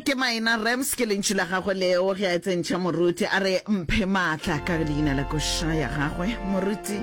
Ke maina Rams ke lentšu la gagwe leo ge a tsentšha moruti a re mphe maatla ka leina la koša ya gagwe moruti.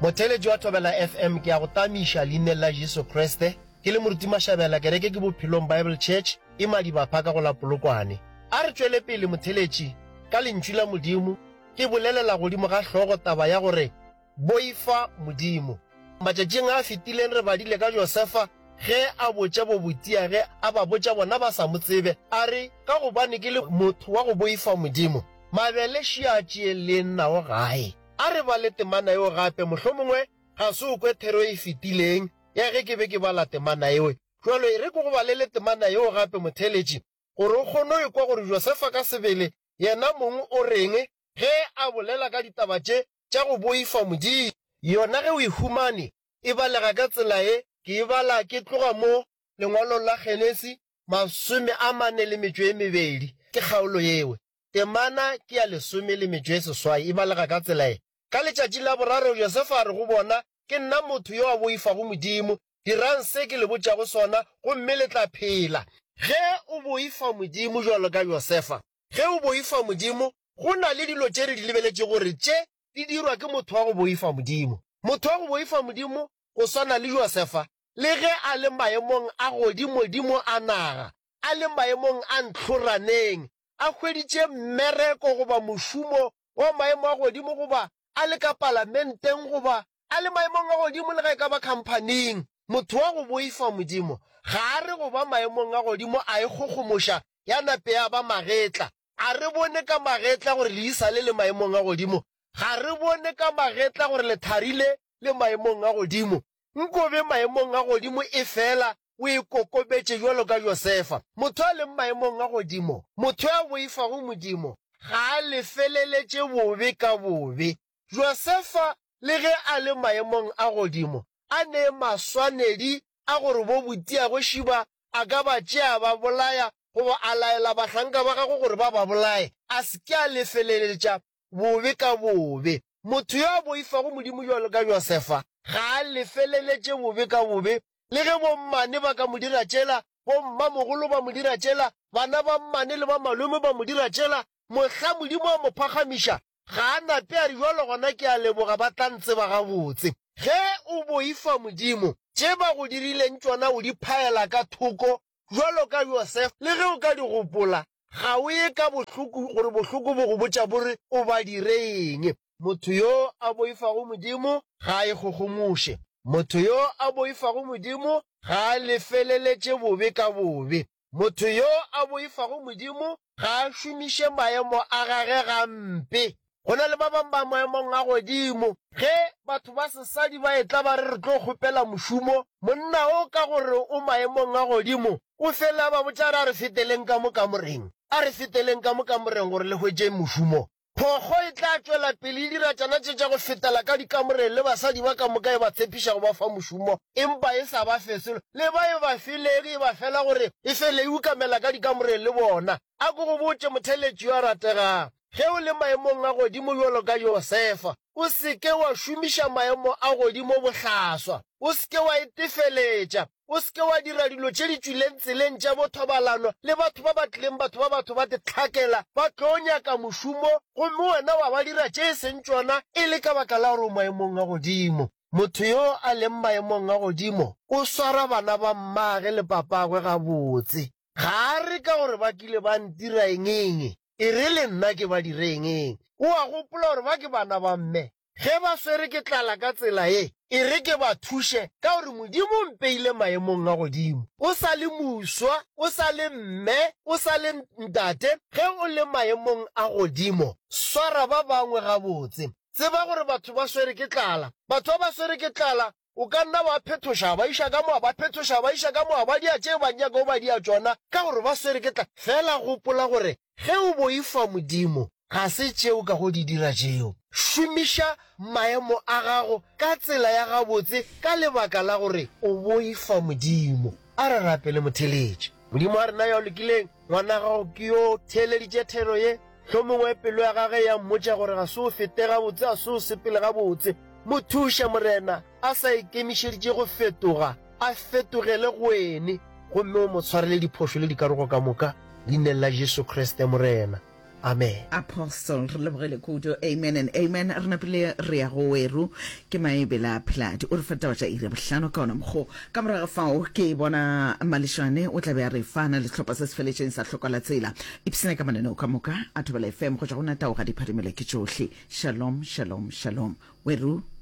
Motheeletši wa Thobela FM ke a go tamiša leineng la Jesu Kriste. Ke le Moruti Mashabela, kereke ke Bophelong Bible Church e Madibapha ka go la Polokwane. A re tšwele pele motheeletši ka lentšu la Modimo ke bolelela godimo ga hlogo taba ya gore Boifa Modimo. Matšatšing a a fetileng re badile ka Josefa ge a botša bobotiage a ba botša bona ba sa mo tsebe, a re, Ka gobane ke le motho wa go boifa Modimo, mabele še a tšeeleng nao gae. A re bale temana yeo gape, mohlomongwe ga se o kwe thero e fetileng ya ge ke be ke bala temana yeo. Bjalo e re ke go balele temana yeo gape, motheeletši, gore o kgone go ekwa gore Josefa ka sebele yena mong o reng ge a bolela ka ditaba tše tša go boifa Modimo. Yona ge o e humane, e balega ka tsela ye, ke e bala ke tloga mo lengwalong la Genesi 42, ke kgaolo yeo. Temana ke ya lesome le metšo e seswai, e balega ka tsela ye, Ka letšatši la boraro Josefa a re go bona, Ke nna motho yo a boifago Modimo, dirang se ke le botšago sona, gomme le tla phela. Ge o boifa Modimo bjalo ka Josefa, Ge o boifa Modimo, go na le dilo tše re di lebeletšego gore tše di dirwa ke motho wa go boifa Modimo. Motho wa go boifa Modimo, go swana le Josefa, le ge a le maemong a godimodimo a naga, a le maemong a ntlhoraneng, a hweditše mmereko goba mošomo wa maemo a godimo goba a le ka palamenteng goba a le maemong a godimo le ge e ka ba khamphaning, motho wa go boifa Modimo ga a re go ba maemong a godimo a ikgogomoša ya nape ya ba magetla. A re bone ka magetla gore leisa le le maemong a godimo, ga re bone ka magetla gore lethari le le maemong a godimo. Nko be maemong a godimo efela o ikokobetše bjalo ka Josefa. Motho a leng maemong a godimo, motho ya boifago Modimo, ga a lefeleletše bobe ka bobe. Josefa le ge a le maemong a godimo, a ne maswanedi a gore bo botiagwe šiba a ka ba tšea a ba bolaya goba a laela bahlanka ba gagwe gore ba ba bolaye, a se ke a lefeleletša bobe ka bobe. Motho yo a boifago Modimo bjalo ka Josefa ga a lefeleletše bobe ka bobe, le ge bommane ba ka mo dira tšela, bommamogolo ba mo dira tšela, bana ba mmane le ba malome ba mo dira tšela, mohla Modimo a mo phagamiša, Ga a nape a re, Bjalo gona ke a leboga, ba tla ntseba gabotse. Ge o boifa Modimo, tše ba go dirileng tšona o di phaela ka thoko bjalo ka Josefa. Le ge o ka di gopola, ga o ye ka bohloko gore bohloko bo go botša bo re o ba dire eng. Motho yo a boifago Modimo ga a ikgogomoše. Motho yo a boifago Modimo ga a lefeleletše bobe ka bobe. Motho yo a boifago Modimo ga a šomiše maemo a gage gampe. Go na le ba bangwe ba maemong a godimo. Ge batho ba sesadi ba etla ba re re tlo kgopela mošomo, monna o ka gore o maemong a godimo, o fele a ba botša a re a re feteleng ka mo kamoreng, a re feteleng ka mo kamoreng gore le hwetše mošomo. Phokgo e tla tšwela pele e dira tšona tše tša go fetela ka dikamoreng le basadi ba ka moka e ba tshepiša go ba fa mošomo, empa e sa ba fe selo. Le ba e ba filego e ba fela gore e fele e ukamela ka dikamoreng le bona. A ko go botše, motheeletši yo a rategago, ge o le maemong a godimo bjalo ka Josefa, o se ke wa šomiša maemo a godimo bohlaswa. O se ke wa itefeletša. O se ke wa dira dilo tše di tšwileng tseleng tša bothobalano le batho ba ba tlileng batho ba batho ba te hlakela ba tlo nyaka mošomo gomme wena wa ba dira tše e seng tšona e le ka baka la gore o maemong a godimo. Motho yo a leng maemong a godimo o swara bana ba mmage le papagwe gabotse. Ga a re ka gore ba kile ba ntira eng-eng, e re le nna ke ba dire eng-eng. O a gopola gore ba ke bana ba mme. Ge ba swere ke tlala ka tsela ye, e re ke ba thuše, ka gore Modimo o mpeile maemong a godimo. O sa le moswa, o sa le mme, o sa le ntate, ge o le maemong a godimo, swara ba bangwe gabotse. Tseba gore batho ba swere ke tlala. Batho ba ba swere ke tlala, o ka nna wa phethoša, wa ba iša ka mo, wa ba phethoša, wa ba iša ka mo, wa ba dia tše ba nyakago ba dia tšona, ka gore ba swere ke tlala. Fela gopola gore ge o boifa Modimo, ga se tše o kago di dira tšeo. Šomiša maemo a gago ka tsela ya gabotse ka lebaka la gore o boifa Modimo. A re rapele motheeletši. Modimo wa rena yo a lokileng, ngwana gago ke yo theeleditše thero ye. Hlomongwe pelo ya gage ya mmotša gore ga se o fete gabotse, ga se o sepele gabotse. Mo thuše, Morena, a sa ikemišeditše go fetoga. a fetogele go wene gomme o mo tshwarele diphošo le dikarogo ka moka, Leineng la Jesu Kriste, Morena. Amen. Apostle, re lebogile kudu. Amen and amen. Re napile re ya go weru ke Maebela Pheladi. O re fa ditaba tša iri ya bohlano ka ona mokgo. Ka morago ga fao ke bona Malešwane o tla be a re fa na le sehlopha se se feletšeng sa Hloka la Tsela. Ipshina ka mananeo ka moka a Thobela FM go tšwa go nna Tau ga di phadimele ke tšohle. Shalom, shalom, shalom. Weru.